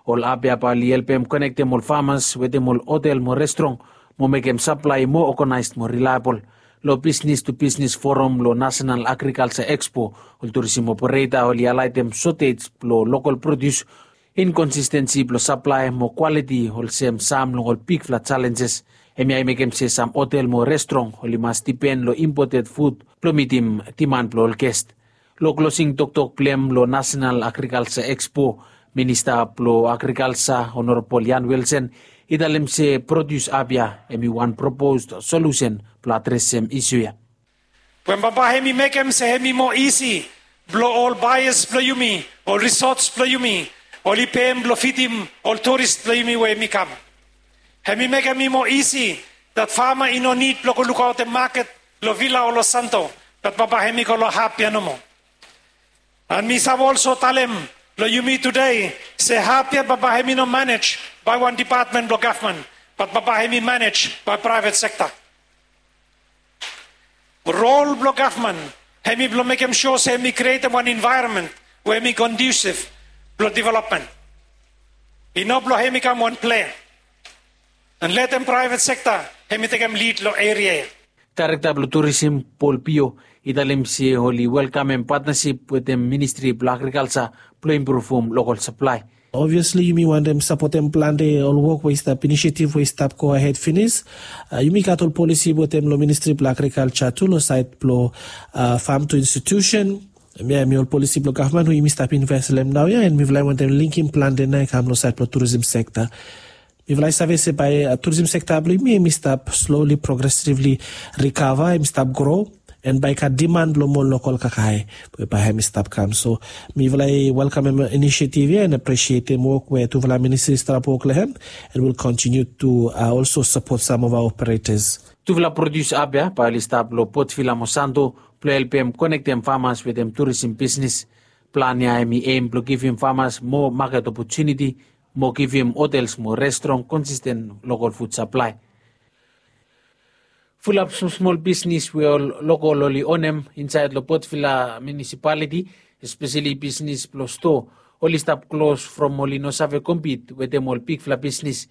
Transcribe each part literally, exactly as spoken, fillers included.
Ol ap ya bae oli helpem konektem ol famas wetem ol hotel mo restrong mo mekem saplae moa oganaes mo rilaebol. Long Business to Business Forum long National Agriculture Expo, ol turisim opereta oli halaetem sotej blong lokol produs, inkonsistensi blong saplae mo kwaliti olsem sam long ol bigfala jalenjes. Hemia i mekem se sam hotel mo restrong oli mas dipen long impoted fud blong mitim diman blong ol ges. Long klosing toktok blong hem long National Agriculture Expo, Minista blong Agrikalsa Honorabol Ian Wilson i talem se produs ap ya hemi wan proposed solusen blong adresem isu ya. Wen bambae hemi mekem se hemi moa isi blong ol baeas blong yumi, ol risots blong yumi, oli pem blong fidim ol turis blong yumi we hemi kam. Hemi mekem i moa isi dat fama i no nid blong go lukaotem maket long Vila o long Santo, bat bambae hemi go long hap ya nomo. An mi save olso talem long yumi tude se hap ya bambae hemi no manej bae wan depatmen blong gavman, bat bambae hemi manej bae praevet sekta. Rol blong gavman hemi blong mekem sua se hemi krietem wan envaeronmen we hemi kondusif blong developmen. I no blong hemi kam wan plea an letem praevet sekta hemi tekem lid long eria ya. Daerekta blong turisim Paul Pio i talem se oli welkamem patnasip wetem Ministri blong Agrikalsa blong impruvum lokol saplae. Obviasli yumi wantem sapotem plante ol wok we i stap, inisiativ we i stap go ahed finis. Yumi gat ol polisi wetem long Ministri blong Agrikalsa tu long saed blong fam tu institusen. Hemia hemi ol polisi blong gavman we yumi stap inves long hem naoia, an mifala i wantem linkim plante nao i kam long saed blong turisim sekta. Mifala i save se bae turisim sekta blong yumi hemi stap sloli, progresivli rikava, hemi stap gro, an bae i gat diman blong moa lokol kakae we bae hemi stap kam. So mifala i welkamem inisiativ ya an apresietem wok we tufala ministri i stap wok long hem, an will continue to also support some of our operators. Tufala produs ap ya bae oli stap long Port Vila mo Santo blong helpem konektem famas wetem turisim bisnis. Plan ya hemi eim blong givim famas moa maket opotuniti mo givim hotels mo restrong konsisten lokol fud saplae. Fulap smolsmol bisnis we ol lokol oli onem insaed long Port Vila Munisipaliti, espeseli bisnis blong stoa, oli stap klos from oli no save kompit wetem ol bigfala bisnis.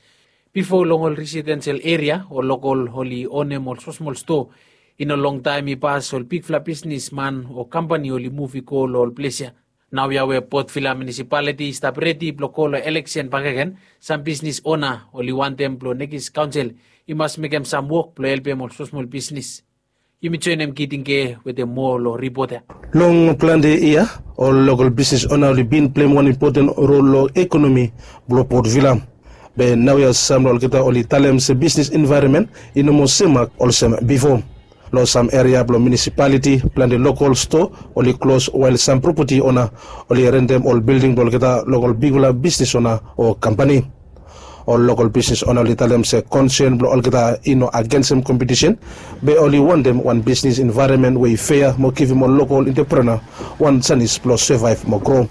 Bifo long ol residensel eria ol lokol oli onem ol smolsmol stoa. I no longtaem i pas ol bigfala bisnisman o kampani oli muv i go long ol ples ya. Naoia we Port Vila Munisipaliti i stap redi blong go long eleksen bakegen, sam bisnis ona oli wantem blong nekis kaonsel i mas mekem sam wok blong helpem ol smolsmol bisnis. Yumi joenem Giting Ke wetem moa long ripot ya. Long plante yia, ol lokol bisnis ona oli bin pleim wan impoten rol long ekonomi blong Port Vila. Be naoia sam long olgeta oli talem se bisnis envaeronmen i no moa semak olsem bifo. Long sam eria blong munisipaliti, plante lokol stoa oli klos, wael sam propati ona oli rentem ol bilding blong olgeta lokol bigfala bisnis ona o kampani. Ol lokol bisnis ona oli talem se konsen blong olgeta i no agensem kompetisen, be oli wantem wan bisnis envaeronmen we i fea mo givim ol lokol entreprenua wan janis blong sevaev mo gro.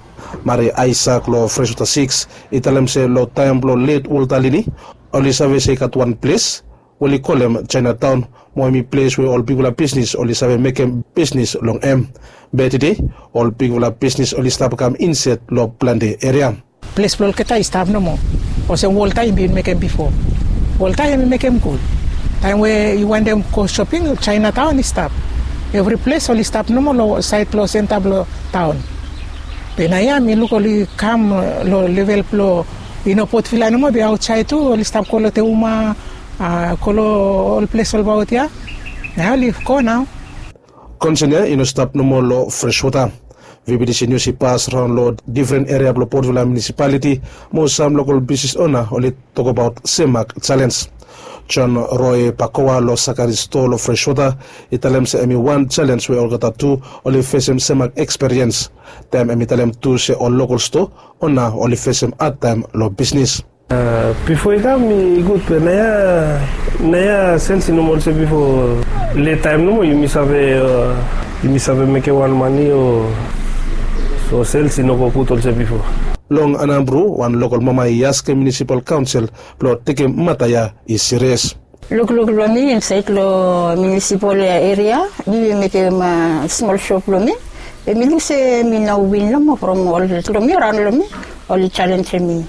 Mari Aisak long Freswota Siks i talem se long taem blong let Walta Lini, oli save se i gat wan ples we oli kolem Jaenataon, mo hemi ples we ol bigfala bisnis oli save mekem bisnis long hem. Be tede ol bigfala bisnis oli stap kam inset long plante eria. Ples blong olgeta i stap nomo olsem Walta i bin mekem bifo. Walta hemi mekem gud. Taem we yu wantem go shoping, Jaenataon i stap. Evri ples oli stap nomo long saed blong senta blong taon. Be naoia mi luk oli kam long level blong i no Port Vila nomo, be aotsaed tu oli stap go long Teuma, a, go long ol ples olbaot ya. Nao oli go nao. Konsen ya i no stap nomo long Freswota. VBTC Nius i pas raon long difren eria blong Port Vila Munisipaliti, mo sam lokol bisnis ona oli tokbaot semak jalenj. John Roy Pakoa long Sakari stoa long Freswota i talem se hemi wan jalenj we olgeta tu oli fesem semak eksperiens. Taem hemi talem tu se ol lokol stoa ona oli fesem hadtaem long bisnis. A, bifo i kam i gud, be naoia, naoia sels i no moa olsem bifo. Let taem nomo yumi save, a, yumi save mekem wan mane o, so sels i no go gud olsem bifo. Long Anambru, wan lokol mama i askem munisipal kaonsel blong tekem mata ya i sirias. Lukluk long mi insaed long munisipal eria, mi bin mekem, a, smol shop blong mi. Be mi luk se mi no win nomo from ol blong mi, raon long mi, oli jalenjem mi.